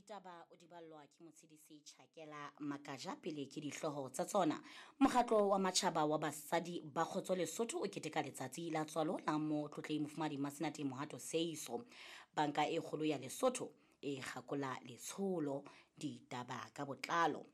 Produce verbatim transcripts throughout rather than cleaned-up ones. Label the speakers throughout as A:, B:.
A: Ditaba o di ballwa ke Motshedisi Chakela Makaja. Pele ke dihlooho tsa tsona. Mokgatlo wa Matjhaba wa Basadi ba Kgotso Lesotho o keteka letsatsi la tswalo la Motlotlehi Mofumahadi Masenate Mohato Seiso. Banka e Kgolo ya Lesotho e kgakola letsholo. Ditaba ka botlalo.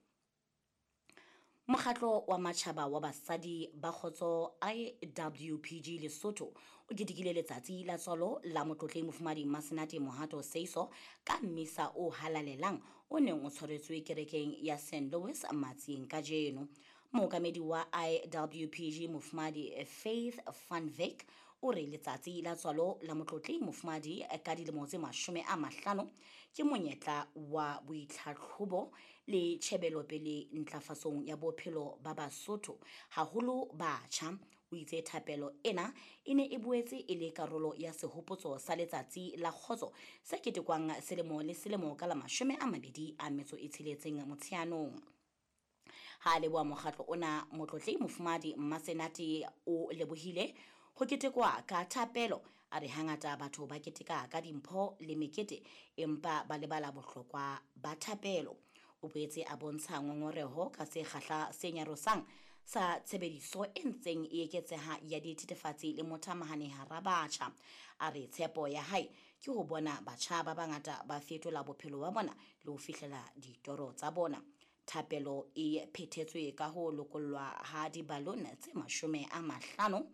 A: Mokgatlo wa Matjhaba wa Basadi ba Kgotso I W P G Lesotho o ketekile letsatsi la tswalo la Motlotlehi Mofumahadi Masenate Mohato Seiso ka mmisa o halalelang o neng o tshwaretswe kerekeng ya Saint Louis Matsieng kajeno. Mookamedi wa I W P G Mofumahadi Faith van Wyk o re letsatsi la tswalo la Motlotlehi Mofumahadi ka dilemo tse mashome a mahlano ke monyetla wa boitlhatlhobo le tjhebelopele ntlafatsong ya bophelo ba Basotho, haholo batjha. O itse thapelo ena e ne e boetse e le karolo ya sehopotso sa Letsatsi la Kgotso se ketekwang selemo le selemo ka la mashome a mabedi a metso e tsheletseng Motsheanong. Ha a leboha mokgatlo ona, Motlotlehi Mofumahadi Mmasenate o lebohile ho ketekwa ka thapelo. A re hangata batho ba keteka ka dimpho le mekete empa ba lebala bohlokwa ba thapelo. O boetse a bontsha ngongoreho ka sekgahla se nyarosang sa tshebediso e ntseng e eketseha ya dithethefatsi le mothamahane hara batjha. A re tshepo ya hae ke ho bona batjha ba bangata ba fetola bophelo ba bona le ho fihlela ditoro tsa bona. Thapelo e phethetswe ka ho lokollwa ha dibalone tse mashome a mahlano,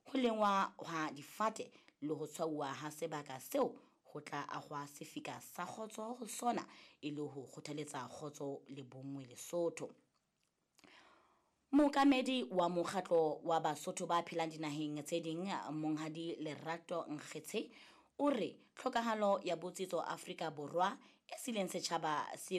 A: ho lengwa ha difate le ho tshwauwa ha sebaka seo ho tla ahwa sefika sa kgotso ho sona e le ho kgothaletsa kgotso le bonngwe Lesotho. Mookamedi wa mokgatlo wa Basotho ba phelang dinaheng tse ding, Monghadi Lerato Nkgetshe, o re tlhokahalo ya botsitso Afrika Borwa e sileng setjhaba se